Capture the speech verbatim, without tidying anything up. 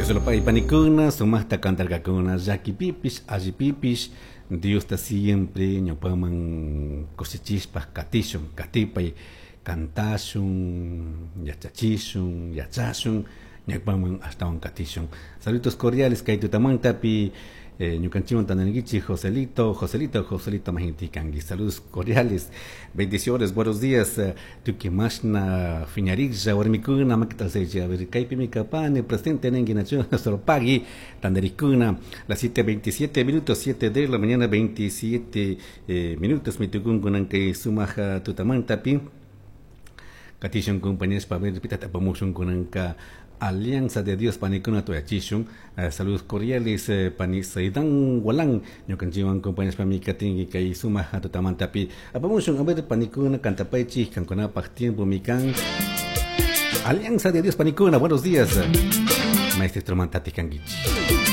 Dios lo pague panikuna, sumaqta kantarkakuna, llakipipish, allipipish, Diosta siempre ñawpaman kushichishpa katishun, katipay kantashun, yachachishun, yachashun, ñawpaman ashtawan katishun. Saludos cordiales kay tutamantapi eh, ñukanchikwan tantanikichik Joselito, Joselito, Joselito majinti kanki. Saludos cordiales, bendiciones, buenos días. Tuki mashna fiñariklla warmikuna makita a ver kaypimi kapani presente ninki nachu pagui tandarikuna las siete veintisiete minutos, siete de la mañana veintisiete eh, minutos mitukunkunan kay sumaja tutamantapi katishun compañeros pa ver pitata apamushun kunanka Alianza de Dios panikuna tuyachishun. Uh, saludos cordiales eh, pani Saidan Walan ñukanchikwan compañeros pami katinki kay sumaja tutamantapi apamushun a ver panikuna kantapaychik kankunapaq tiempo mikan Alianza de Dios panikuna, buenos días. Maestro Mantati kankichik.